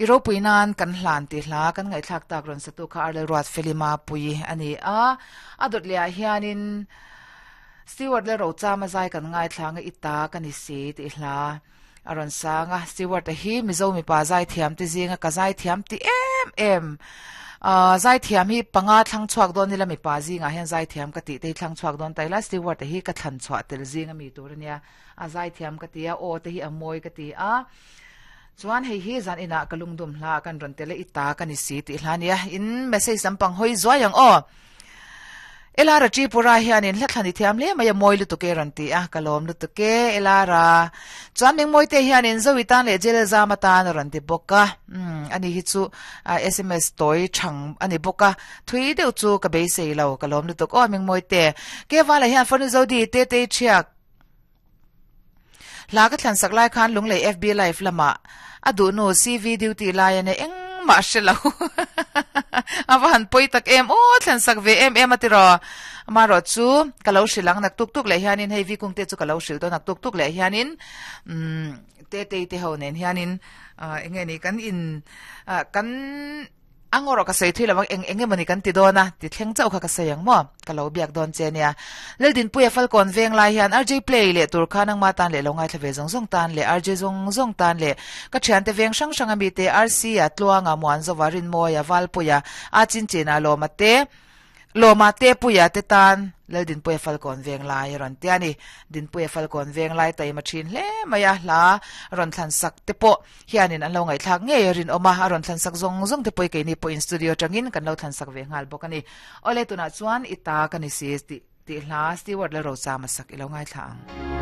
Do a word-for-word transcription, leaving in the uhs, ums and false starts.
I ropui nan kan hlan ti hla kan ngaihthlak tak rawn satu kha Arlel Ruat Felima pui ani a a dawt leh ah hianin Stewart le Rochama zai kan ngaithlanga ita kan isi ti hla a rawn sanga Stewart a hi Mizo mipa zai thiam ti zinga ka zai thiam ti em em a zai thiam hi panga thlang chuak dawn nila mipa zinga hian zai thiam ka ti te thlang chuak dawn taila Stewart a hi ka thlan chhuah tel zinga mi tur ania a zai thiam ka ti a aw te hi a mawi ka ti a chuan hei hi zan ina ka lungdum hla kan rawn tele ita kan isi ti hla nia in message lampang hoi zuai ang aw Elara Tripura hianin hla thlani thiam le mai a mawi lutuk e rawn ti a ka lawm lutuk e Elara chuan ming mawi te hianin zowitan leh jail zam atan a rawn ti bawk a um ani hi chu S M S tawi thang ani bawk a thui deuh chu ka beisei lo ka lawm lutuk aw ming mawi te ke wala hian fanu zodi te te thiak hla ka thlan sak lai khan lunglei F B live lama a du nu C V duty lai ane eng ma hrelo awa han poi tak em o thlan sak ve em em atiro ma ro chu kalo hrilang nak tuk tuk le hianin hei vi kung te chu kalo hril to nak tuk tuk le hianin um te te te ho nen hianin enge ni kan in kan angoro ka sei thui lawang eng enge mani kan ti dona ti thleng chau kha ka sei ang mo ka lo biak don che nia leldin puya falcon veng lai hian R J play le tur kha nang ma tan le longai thlave zong zong tan le R J zong zong tan le ka thian te veng sang sang ami te R C a tluanga muan zowarin moya valpuya a chin china lo ma te loma te puya te tan leldin puya falcon veng lai ron te ani din puya falcon veng lai tai ma thin hle maya hla ron thlan sak te po hianin an lo ngai thlak nge rin oma a ron thlan sak zong zong te poi ke ni po in studio tangin kan lo thlan sak ve ngal bok ani ole tuna chuan ita kan si ti ti hla Stewart le ro chama sak ilo ngai thla ang.